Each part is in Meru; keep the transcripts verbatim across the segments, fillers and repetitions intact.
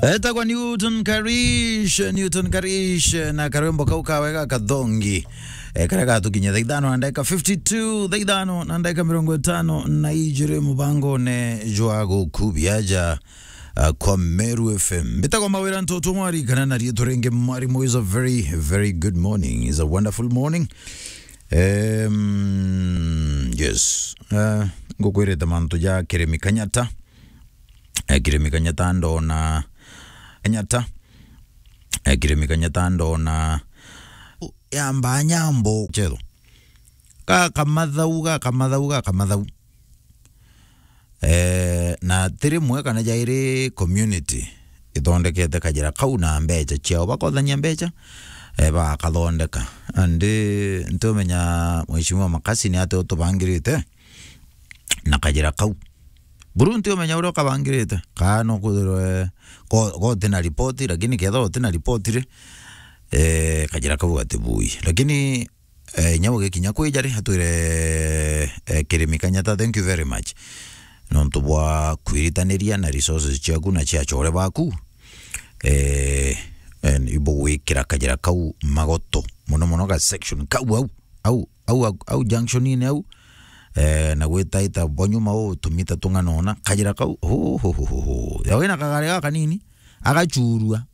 Etagwa Newton Karish, Newton Karish, na karwimbo kau kawe ga kathongi. E, karia gatukinya thaa ithano na ndagika fifty-two, thaa ithano na ndagika mirongo itano na ijiri mubangone jwa gukubia aja, uh, kwa Meru F M. Mbitagwa Mawira Ntoto Mwari, kana na riitwa ringi Mwarimu. Is a very, very good morning. Is a wonderful morning. Um, yes. Uh, ngukwirite mantu ja Kirimi Kanyata. Eh, Kirimi Kanyata ndona. Kanyata. Eh, Kirimi Kanyata ndona. Yamba nyambo. Chetho. Ga kamathau, ga kamathau, ga kamathau. Eh, na ti rimwe kana jairi community ithondekete kajira kau na mbecha ciao, bakothania mbecha, eh, bagakathondeka. And, eh, ntiumenya Mheshimiwa Makasi ni atia utubangirite na kajira kau. Buru ntiumenya uria ukabangirite. Kaa no kwithirwe ko, ko utina ripoti, lakini kethirwa utina ripoti ri, eh, kajira kau gatibui. Lakini, eh, inya ugikinya kwija ri, atwire, eh, Kirimi Kanyata, thank you very much nontu bwa kwiritaniria na resources ciaku na cia achore baku. Eh, eh, ibugwikira kajira kau magoto, muno muno ga section kau au, au, au, au, au junction-ini au, eh, na gwitaita bo nyuma u tumita tung'ana ona, kajira kau, hu, hu, hu, hu, hu. Ya wina kagari gaka kanini, agachurua.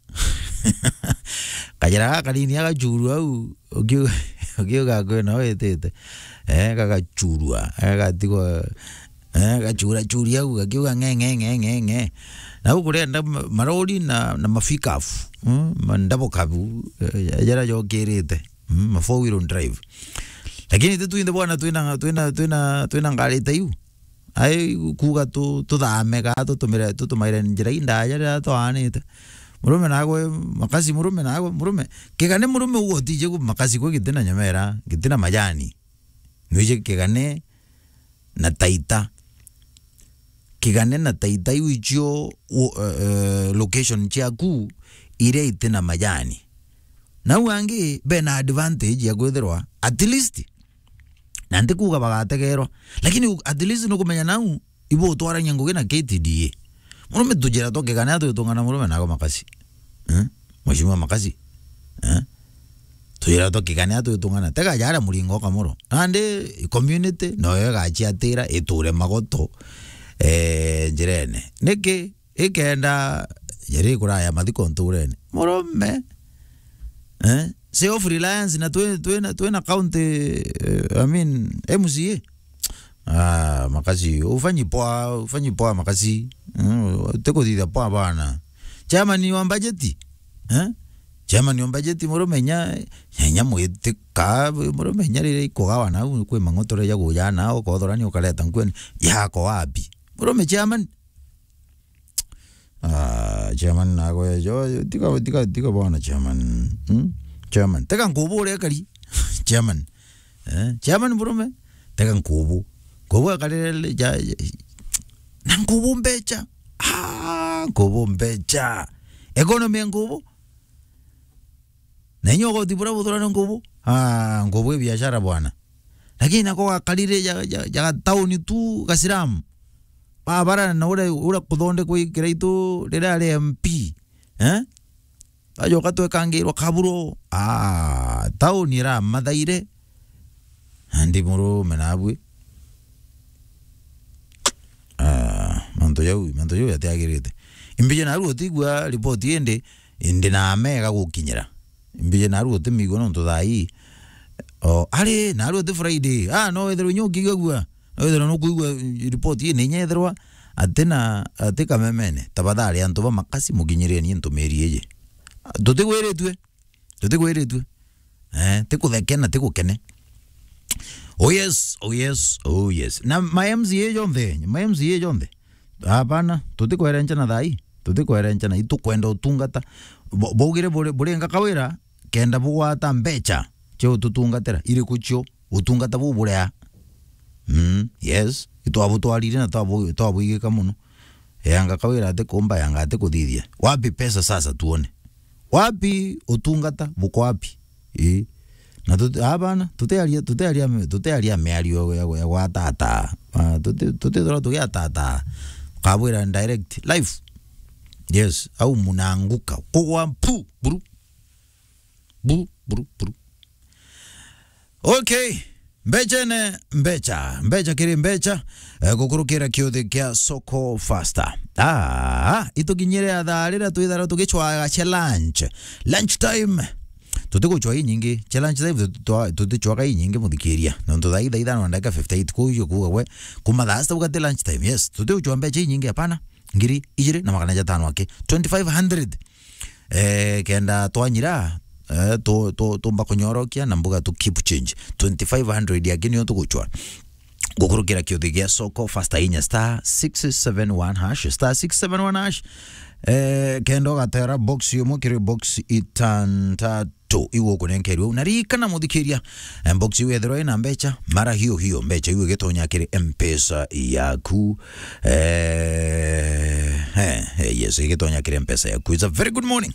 Kajira gaka kanini agachurua au, ukiu-, ukiuga kwina witite. Eh, gagachurua, eh, gatigwa, eh, gachura churi au, gakiuga ng'e, ng'e, ng'e, ng'e, ng'e. Na guku rienda ma-, marori na, na mafikafu, mm, mandabokabu, eh, jara jokirite. Mm, ma four wheel drive. Lakini ti twinthe bwana twina, twina, twina, twina ngari ta iu. Ai kuuga tu-, tuthame kaa tutumire, tutumaire njira indaya riria twaanite. Murume nagwe, Makasi murume nagwe, murume. Kigane murume ugo tije ku Makasi kwe gitina nyomera, gitina majani. Nwije kigane na Taita. Kigane na Taita iu icio u-, eh, eh, location ciaku iria itina majani. Nau angi bena advantage ya kwithirwa at least, na nti kuuga bagategerwa, lakini u-, at least nukumenya nau ibu utwarania ngugi na K T D A. Murume tujira twa kigane atwitungana murume nagwe Makasi. Eh? Mheshimiwa Makasi. Eh? Tujira twa kigane atwitungana. Tega jara muringo kamuro. Nandi community noyo igachiatira iture magoto, eh, njirene. Niki? Ikenda jari kuraya mathiko nturene. Murume. Eh? Self reliance na twi-, twina, twina county, eh, I mean, M C A. Ah, Makasi, ufanyi poa, ufanyi poa Makasi. Mm, tikuthitha poa bana. Chairman wa budget. Eh? Chairman wa budget murume nya, nya, nya mwitika, murume nya riria ikugawa nau kwi mang'otore ja guja nao, kothora ni ukareta nkweni. Yako wapi? Murume chairman. Ah, chairman nagwe, jo, tiga, tiga, tiga bwana chairman. Hmm? Chairman, tega nkubu uria kari. Chairman. Eh, chairman murume, tega nkubu. Nkubu akarire ja, ja, na nkubu mbecha. Ah, nkubu mbecha. Economy ya nkubu. Na inya ugoti buria buthurana nkubu. Ah, nkubu i biashara bwana. Lakini nako gakarire ja, ja, ja tauni tu gasilamu. Babara na uria, uria kuthondekwa i Kiraitu riria ari M P. Eh? Bajoka twekangirwa kaburo. Ah, tauni iramathaire. Andi murume nabwi. Ah, mantu jau, mantu jau jatiagirite. Imbije naru utigua ripoti indi, indi na mega gukinyira. Imbije naru utimigua nontu thaa ii. O, ari, naru uti Friday. Ah, no wethirwe inya ukigagua. No wethirwe nukuigua ripoti ii, na inya ethirwa atina, ati kamemene. Tafadhali antu ba Makasi mukinyirieni ntumiri iji. Tutigwiritue. Tutigwiritue. Eh, tikutheke na tigukene. Oh yes, oh yes, oh yes. Na ma M C A jonthe, ma M C A jonthe. Hapana, tutikwerenchana thaa ii. Tutikwerenchana, itukwenda utungata. Bo-, baugire buri, buringa Kawira, kenda bugwata mbecha cia ututungatira. Iriku cio? Utungata buu buria. Mm, yes. Itwabutwarire na twabu-, twabuigika muno. Yanga Kawira ati kumba, yanga ati kuthithia. Wapi pesa sasa tuone? Wapi utungata? Buko wapi? Ii. Na tuti-, abana, tutiaria, tutiaria, tutiaria miario ya, ya, ya gwatata. Ah, tuti-, tutithirwa tugiatata. Kabwira direct, live. Yes, au mnaanguka. Kugwa pu, buru. Buru, buru, buru. Okay. Mbechene, mbecha. Mbecha kiri mbecha. Eh, gukurukira kiuthi kia Soko Faster. Ah, itukinyire ya thaa riria twithara tugichwaga cia lunch. Lunch time. Tutiguchwa inyingi. Cia lunch time tuti-, twa-, tutichwaga inyingi, muthikiria. Nontu thaa ithaa ithano na ndagika fifty-eight, kuu iyo kuuga we, kuma thaa sita ugati lunch time. Yes, tutiguchwa mbecha inyingi, hapana. Ngiri ijiri na magana jatano aki. Twenty-five hundred. Eh, kenda twanyira, eh, tu-, tu-, tumba kunyorokia na mbuga tu keep change. Twenty-five hundred aki niyo tuguchwa. Gukurukira kiuthi gia Soko Faster, inya star six seven one hash, star six seven one hash. Eh, kenda ugatera box yumwe kiri box itantatu. Tu, iwe ukunenkerwe u. Na ririkana, muthikiria, eh, box iu yethirwa ina mbecha, mara hiyo hiyo mbecha iu igitonya kiri M-Pesa yaku. Eh, eh, eh, yes, igitonya kiri M-Pesa yaku. It's a very good morning.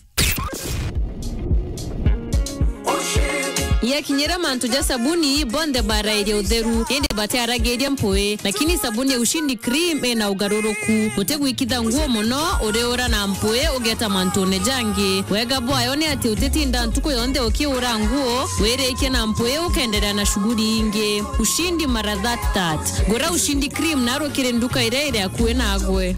Yakinyira mantu ja sabuni, bonthe barairia utheru, indi batiaragiria mpui. Lakini sabuni ya Ushindi Cream ina ugaruruku. Utigwikitha nguo mono, uriura na mpui, ugeta mantune jangi. Wega bwayo ni ati utitinda ntuku yonthe ukiura nguo, wirikie na mpui, ukenderea na shughuli ingi. Ushindi mara that that. Gura Ushindi Cream naru kiri nduka iria iri akui nagwe.